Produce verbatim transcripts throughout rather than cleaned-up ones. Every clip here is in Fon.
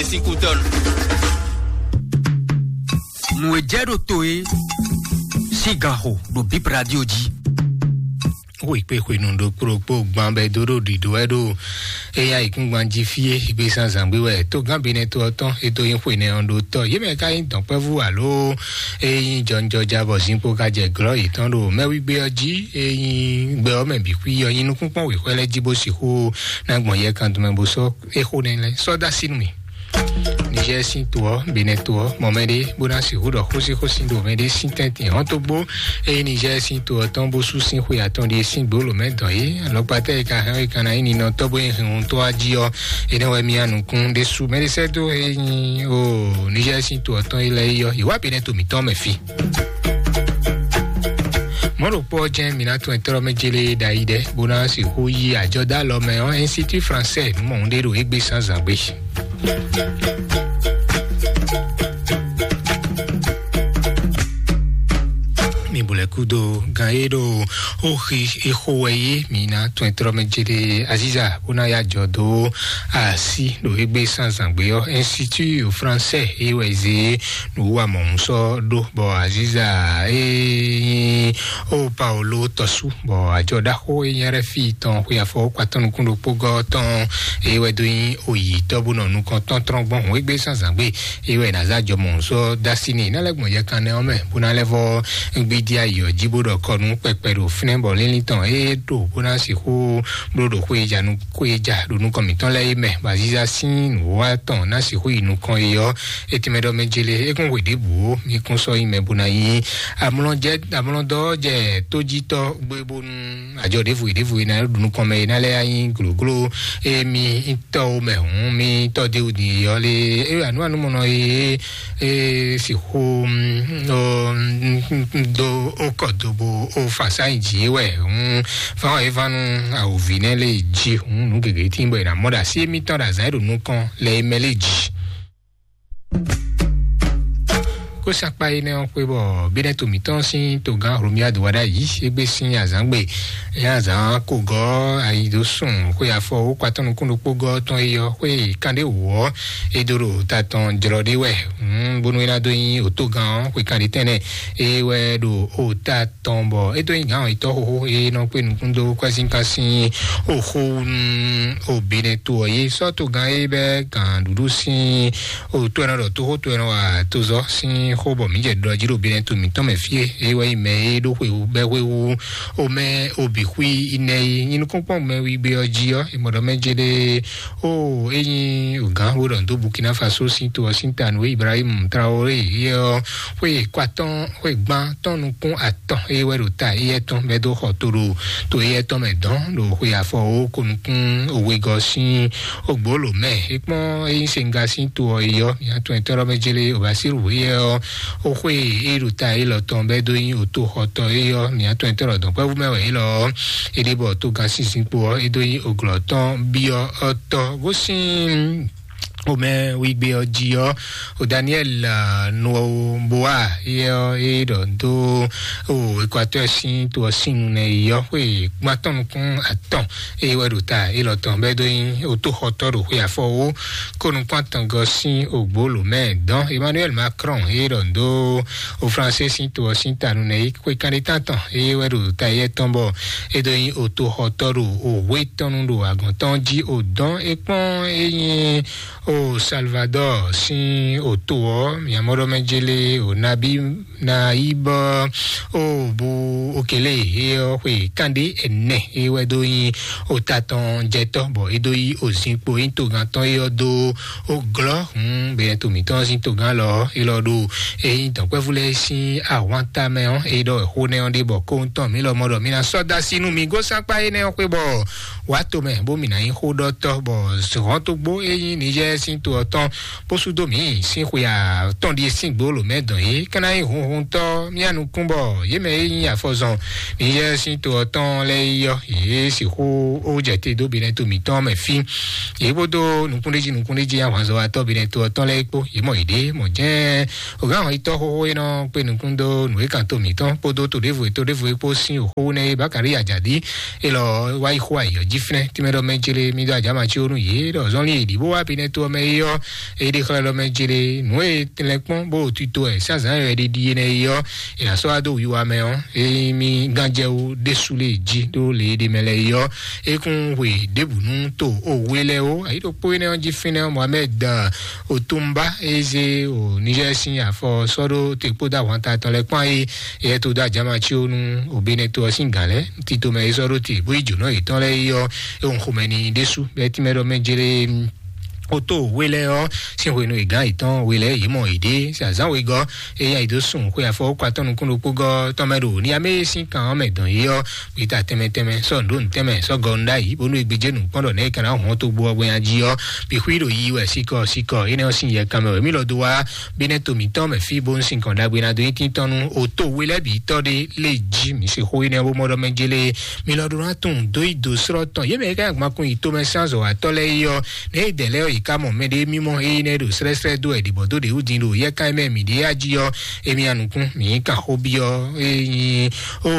Sikutɔn. Nǔ e jɛ ɖo to e sín gan xo ɖo Bib Radio jí. Xwekpe xwenu ɖokpó ɖokpó gban bɛ dó ɖo ɖiɖo wɛ ɖo eya ikúngban jí fí e igbe zán zǎngbé wɛ tó gán benɛ to ɔ́ tɔn e dó nyí xwe nɛ ɔ́ ɖo tɔ yě mɛ ka nyí dɔ̌nkpɛvú alo e nyí jɔnjɔja bɔ zinkpo ka jɛ glɔ́ yětɔn ɖo mɛwígbe ɔ́ jí e nyí gbɛ ɔ́ mɛ bǐ xwí ɔ́ nyí nukúnkpɔ́n wěxwɛ́ lɛ́ɛ jí bó sixú ná gbɔn yɛ kan dɔmɛ bó sɔ́ é xo nɛ́ lɛ́ɛ sɔ́ dó así nú mì. Niger sín to ɔ́, Benin to ɔ́, mɔ mɛ ɖé bó ná sixú ɖɔ xósíxósí ɖo mɛ ɖé sín tɛ́ntin hɔ́ntogbó. Eye Niger sín to ɔ́ tɔn bó sú sín xwe atɔn ɖíe sín gbǒlǒ mɛ dɔn é. Alɔkpatɛ e ka hɛn ɔ́, e ka ná nyí ninɔtɔ́ bó nyí hinhuntɔ́ ɔ́ jí ɔ́, énɛ́ wɛ mía nukún ɖésú mɛ ɖé sɛ́ dó e nyí o Niger sín to ɔ́ tɔn yi lɛ́ɛ yi ɔ́, yi wá Benin to mǐtɔn mɛ fí. Mɔ̌ ɖokpó ɔ́ jɛ́n mǐ ná tunwun ɛtɔ́ mɛ jélé ɖ'ayǐ ɖɛ bó ná sixú yí ajɔdá lɔ mɛ ɔ́, Institut Français mɔ ɖé ɖo égbé zǎnzǎn gbé. Mi bu lɛ kúdo gan e ɖo oxi exo wɛ yé mi ná tɔn trɔ mɛ jede aziza bó ná ya jɔ dó asi ɖo egbe sanzangbe ɔ́, Institut Français e wɛ zé nǔ wa mɔ̌ sɔ ɖó bɔ aziza e nyí o Paolo tɔsu bɔ ajɔ ɖaxó e nyí rɛ fi tɔn xwe afɔ kpatɔn nukún ɖokpó gɔ tɔn e wɛ do nyí oyi tɔbunɔ nukɔn tɔn trɔn gbɔn hɔn egbe sanzangbe e wɛ ná zá jɔmɔ sɔ dasi n'i ná lɛ́ gbɔn yɛ kan nɛ ɔ́ mɛ bó ná lɛ́ vɔ gbidi ayɔ jí bó ɖɔ kɔnu kpɛkpɛ ɖo fínɛ́ bɔ línlín tɔn e ɖo bó ná sixú bló ɖo xwéjanu xwéja ɖo nukɔn mǐtɔn lɛ́ɛ é mɛ bɔ aziza sín nǔwa tɔn ná sixú yi nukɔn é ɔ́, é tɛ́nmɛ ɖɔ mɛ jele é kún hwe ɖěbǔ ó, mí kún sɔ́ yi mɛ bó ná yí amlɔjɛ amlɔdɔ jɛ tójítɔ́ gbé bónú ajɔ ɖěvo e ɖěvo e ná ɖo nukɔn mɛ e ná lɛ́ nyí glǒgló e mi tɔ́ wo mɛ hǔn mi tɔ́ dé wú din e ɔ́ lé e anu anu mɔnɔ e e sixú dó o kɔ do bo o fa sáyìn jǐ wɛ hǔn fáwọn e va nú awòvi nɛ lé jí hǔn nǔ gěgé tí bɔ è nà mɔ ɖo así émítɔn ɖo azǎn e ɖo nukɔn lɛ e mɛ lé jí. Kó sakpa énɛ́ ɔ́ xwé bɔ bínɛ́ to mǐtɔn sín togán Hlomia do wá ɖ'ayǐ égbé sín azǎngbe. Nya azǎn ko gɔ́ ayi dó sùn xwé afɔ wó kpatɔ́ nukún ɖokpó gɔ́ tɔn é yɔ xwé kanɖé wǒ ɔ́, é dó ɖo ta tɔn jlɔ ɖé wɛ. Bónú é ná dó nyí òtógán ɔ́ xwé kanɖé tɛnɛ é wɛ ɖo ota tɔn bɔ é dó nyí gǎn yětɔn xóxó é nɔ kpé nukún dó kwɛ́sínkan sín oxó nú obinɛ to ɔ́ yé sɔ́ togán é bɛ́ gǎn ɖuɖu sín o to ɛnɔ ɖɔ toxó to ɛnɔ wa tozɔ sín xó bɔ mǐ jɛ ɖɔ jí ɖo binɛ to mǐtɔn mɛ fí e é wɛ nyí mɛ e ɖó xwewú bɛ́ xwewú o mɛ o bǐ xwí inɛ yi nyí nukúnkpɔ́n mɛ wígbé ɔ́ jí ɔ́, è mɔ ɖɔ mɛ jé ɖé o é nyí gǎn xó ɖɔ dó Burkina Faso sín to ɔ́ sín ta nǔ e Ibrahim Traoré yɛ ɔ́ xwé kɔ atɔ́n xwé gbán tɔn nukún atɔn é wɛ ɖo ta éyɛ́ tɔn bɛ́ dó xɔ to ɖo to éyɛ́ tɔn mɛ dɔn ɖo xwe afɔ o ko nukún owegɔ sín ogbolo mɛ é kpɔn é nyí senga sín to ɔ́ é yɔ mia tɔn ɛtɔ́ mɛ jélé o ba sí wú yɛ ɔ́ o xwe é ɖo ta é lɔ tɔn bɛ dó nyí o to xɔtɔ é yɔ mia tɔn ɛtɔ́ dɔn pɛ́vú mɛ wɛ é lɔ é ɖe bɔ to gan sínsín kpo ɔ́ é dó nyí oglɔ tɔn byɔ ɔtɔ gosín o mɛ wígbé ɔ́ jí ɔ́ o Daniel Noboa yɛ ɔ́ é ɖɔ dó o Ekwatɔ́ sín to ɔ́ sín nu nɛ yɔ xwe gbãtɔn nukún atɔn é wɛ ɖo ta é lɔ tɔn bɛ dó nyí o to xɔtɔ ɖo xwe afɔ wo ko nukún atɔngɔ sín ogbolo mɛ dɔn Emmanuel Macron é ɖɔ dó o France sín to ɔ́ sín tanu nɛ é xwe kanɖé tantɔn é wɛ ɖo ta yɛ tɔn bɔ é dó nyí o to xɔtɔ ɖo o hwe tɔn nu ɖo agɔn tɔn jí o dɔn é kpɔn é nyí o Salvador sín o to ɔ́ miamɔɖɔmɛ jélé o nabi na yi bɔ o bu okele he ɔ xwe kande ene he wɛ do nyi o ta tɔn jɛtɔ bɔ e do yi o zinkpo yi togán tɔn yi ɔ do o glɔ hun bɛnɛ to mǐtɔn sin togán lɔ e lɔ ɖo eyin dɔnkpɛvu lɛ sin ahwan tamɛ ɔ e ɖɔ xo nɛ ɔ ɖe bɔ ko ŋutɔn mi lɔ mɔ ɖɔ mi na sɔ da si nu mi gosakpa enɛ ɔ xwe bɔ wa to mɛ bó mi na nyi xo ɖɔtɔ bɔ hɔn to gbó eyin nijɛ sin to ɔ tɔn bó sú dó mǐ sín xwe atɔn ɖíe sín gbolo mɛ dɔn yě kana nyí hunhuntɔ mía nukún bɔ yě mɛ e nyí afɔzɔn niyɛ sín to ɔtɔn lɛ́ɛ yi ɔ́ yě sixú ó jɛ te dó binɛ to mǐtɔn mɛ fí yě kpódó nukúnɖéjí nukúnɖéjí ahwanzɔ́watɔ́ binɛ to ɔtɔn lɛ́ɛ kpó yě mɔ yěɖée mɔ jɛ́n ògán hɔn yitɔ́ xóxó e nɔ kpé nukún dó nǔ e kan to mǐtɔn kpódó to ɖěvo e to ɖěvo e kpó sín òxó nɛ e bákàrí àjàdí e lɔ wá yi xó ayǐ ɔ́ jí fínɛ́ tímɛ́ɖɔ mɛ jélé mí dó ajǎ ma cí ó nú yě ɖɔ zɔnlin e ɖǐ bó wá binɛ to Mɛ yi ɔ́, e ɖe xlɛ́ ɖɔ mɛ jere nǔ e tlɛ kpɔ́n bó tito ɛ sazan yɔ ɖiɖi enɛ yi ɔ́, e asɔ ado wiwa mɛ ɔ́, e mi ganjɛ wo ɖésú lé jí ɖó le ɖe mɛ lɛ yi ɔ́, e kún hwe ɖěbǔ nú to o we lɛ o. Ayi ɖokpó enɛ ɔ́ jí fínɛ́ ɔ́, Mohamed Otumba e zé o Niger sín afɔ sɔ́ ɖó te kpódó ahwan ta tɔn lɛ kpán e yɛ to dó ajama cí o nú o Benɛto ɔ́ sín gǎn lɛ tito mɛ e sɔ́ ɖó te bó yi jǒnɔ yětɔn lɛ yi ɔ́, e hɔn xomɛ ni ɖésú bɛ́ tínmɛ ɖɔ mɛ jere o tó we lɛ ɔ́ sín hwenu e gǎn yětɔn we lɛ yě mɔ yěɖée azǎn wegɔ́ e nya yi dó sun xwe afɔ kɔ atɔ́ nukún ɖokpó gɔ́ tɔn mɛ ɖo ní amé sín kan ɔ́ mɛ dɔn yé ɔ́, gbita tɛnmɛ tɛnmɛ sɔ́ nǔ ɖó nǔ tɛnmɛ sɔ́ gɔ nɖá yìí bónú e gbéjé nǔkpɔ́n ɖɔ nɛ́ kana hɔn tó gbó ɔ́ gbɛ́nya jí ɔ́, bixwí ɖo yi wɛ síkɔ síkɔ énɛ́ ɔ́ sín yɛ kanmɛ wɛ mí lɔ dó wá bí nɛ́ to mǐtɔn mɛ fí bó sín kɔn ɖagbe ná dó nyí tíntɔ́n nú o tó we lɛ́ bǐ tɔ́ ɖé lé jí mǐ se xó énɛ́ bó mɔ ɖɔ mɛ jélé. Mi lɔ ɖó ná tunwun dó yi dǒ srɔ́ tɔn yě mɛ e ká nyi agbankun yǐtomɛ sín azɔ̌watɔ́ lɛ́ɛ yi ɔ́, nɛ̌ yi dɛ̌ lɛ́ɛ ɔ́ yě ká mɔ mɛɖé mímɔ éyí nɛ́ ɖo slɛ́slɛ́ dó wɛ ɖibɔ dó ɖě wú din ɖo yɛ́kan e mɛ mǐ ɖe yá jí ɔ́, émí anukún mǐ kan xó byɔ́ é nyí o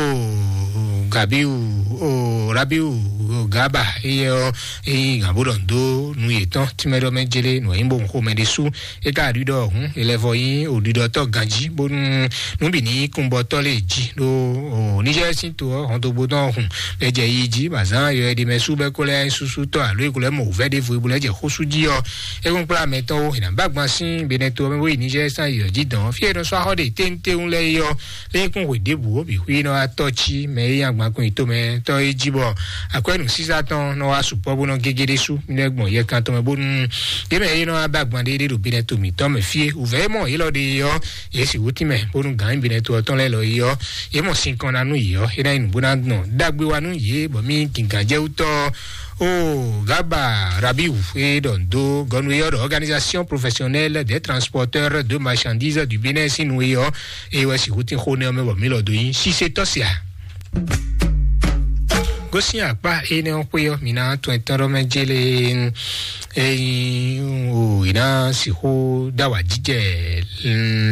Gabiu o Rabiu o Gaba éyɛ ɔ́, é nyí gǎn bó ɖɔ dó nu yětɔn tínmɛ ɖɔ mɛ jélé nǔ e nyí bo xomɛ ɖé sú é ká ɖiɖɔ hǔn é lɛ́ vɔ nyí òɖiɖɔtɔ́ ganjí bónú nǔ bǐ ní kúnbɔtɔ́ lé jí ɖó Niger sín to ɔ́ hɔndógbó tɔn hùn bɛ jɛ yi jí bɔ azǎn yɔ ɛɖi mɛ sú bɛ kó lɛ́ súsú tɔ́ alo é kó lɛ́ mɔ wǔvɛ́ ɖěvo é bó lɛ́ jɛ xó sú jí ɔ́, é kún kplá mɛ tɔn ó è nǎ bá gban sín Benɛto ɔ́ mɛ bó yi Niger sín ayǐ ɔ́ jí dɔn fí e è nɔ sɔ́ axɔ́ ɖe téńtéún lɛ́ɛ é ɔ́, lé kún hwe ɖěbǔ ó bǐ xwí nɔ wá tɔ́ cí mɛ é nyí agbankun yětomɛ tɔ́ é jí bɔ akwɛ́nú sísá tɔn nɔ wá sukpɔ́ bó nɔ gégé ɖésú mí lɛ́ gbɔn yɛ kan tɔn mɛ bónú yě mɛ é nɔ wá bá gban ɖéɖé ɖo Benɛto mǐtɔn mɛ fí é wǔvɛ́ é mɔ yě lɔ ɖe é ɔ́, yě sixú tínmɛ bónú gǎn Benɛto ɔ́ tɔn lɛ́ɛ lɔ é ɔ́, yě mɔ sinkɔn ná nú yě ɔ́ é ná nyí nǔ bó ná gbɔn ɖagbe wá nú yě bɔ mí gǐngán jɛ wú tɔ́ ó Gaba Rabiu e ɖɔ ndo gɔnu e ɔ́ ɖɔ Organisation Professionnelle des Transporteurs de Marchandises du Bénin sín nu e ɔ́, e wɛ sixú tín xó nɛ ɔ́ mɛ bɔ mí lɔ dó nyí sisetɔ́ sia. Gosín akpá énɛ́ ɔ́ xwé ɔ́, mǐ ná tɔn ɛtɔ́ ɖɔ mɛ jélé eyin o è ná sixú dá wà jíjɛ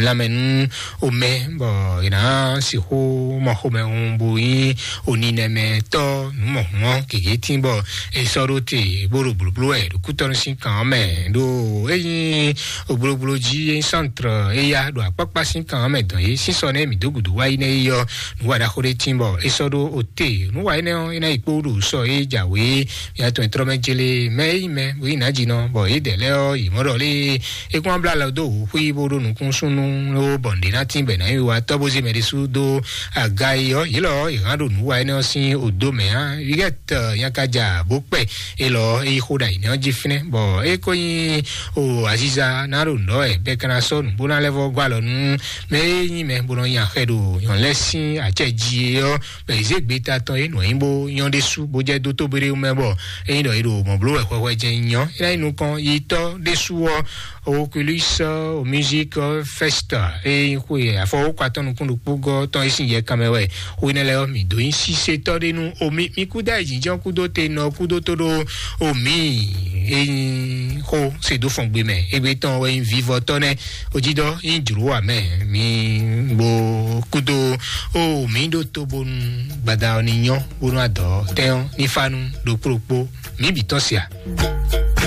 lanmɛ nú omɛ bɔ è nǎ sixú mɔ xomɛhun bo nyí oninɛmɛtɔ́ nǔmɔhún ɔ́ gěgé tín bɔ è sɔ́ ɖó te bó ɖo blǒbló wɛ ɖo kútɔ́nú sín kan ɔ́ mɛ ɖó é nyí oblóbló jí é nyí sántrɔ éyá ɖo akpákpá sín kan ɔ́ mɛ dɔn yé sísɔ nɛ́ mǐ dó gǔdo wá yi nɛ́ yi ɔ́ nǔ wa ɖaxó ɖé tín bɔ é sɔ́ ɖó ote nǔ wa énɛ́ ɔ́ é ná yi kpó ɖo sɔ é jǎwe mía tɔn trɔ́ mɛ jélé mɛ é nyí mɛ bó nyí nǎjínɔ bɔ yědɛɛ lɛ́ɛ ɔ́ yě mɔ ɖɔ lé é kún blá lɔ dó wǔ xwí bó ɖó nukúnnú ló bɔ nǔɖé ná tín bɔ è nǎ yi wa tɔ́ bó zé mɛ ɖésú dó aga yi ɔ́ yě lɔ yě hán ɖo nǔ wa énɛ́ ɔ́ sín odó mɛ ǎ. Yugɛt nyakaja bó kpɛ é lɔ é yi xó ɖo ayǐ nɛ́ ɔ́ jí fínɛ́ bɔ é ko nyí o aziza ná ɖo nǔ ɖɔ wɛ bɛ́ ka ná sɔ́ nǔ bó ná lɛ́ vɔ́ gɔ́ alɔ nú mɛ e nyí mɛ bó nɔ nyi axɛ ɖo nyɔ̌nu lɛ́ɛ sín acɛ jí é ɔ́ bɔ è zě gbeta tɔn é nǔ e nyí bó nyɔ́ ɖésú bó jɛ dó tóbéɖéwú mɛ bɔ é nyí ɖɔ é ɖo mɔ̌ bló wɛ hwɛhwɛ jɛ́n nyɔ́ é ná nyí nukɔn yi tɔ́ ɖésú ɔ́ Oculus o music fest e nyí xwe afɔwókɔ atɔ́ nukún ɖokpó gɔ́ tɔn e sín yɛ kanmɛ wɛ xwe nɛ lɛ́ɛ ɔ́ mǐ dó nyí sísetɔ́ ɖé nú omi mí kúdó ayǐjínjɔ́n kúdó te nɔ kúdó tó ɖó omi e nyí xó se dó fɔn gbe mɛ égbé tɔn wɛ nyí vivɔtɔ́ nɛ́ ojidɔ nyí jlǒ wà mɛ mí bó kúdó o mǐ ɖó tó bónú gbada ɔ́ ní nyɔ́ bónú adɔ̌ tɛ́n ɔ́ ní fá nú ɖokpó ɖokpó mǐ bǐ tɔn sia.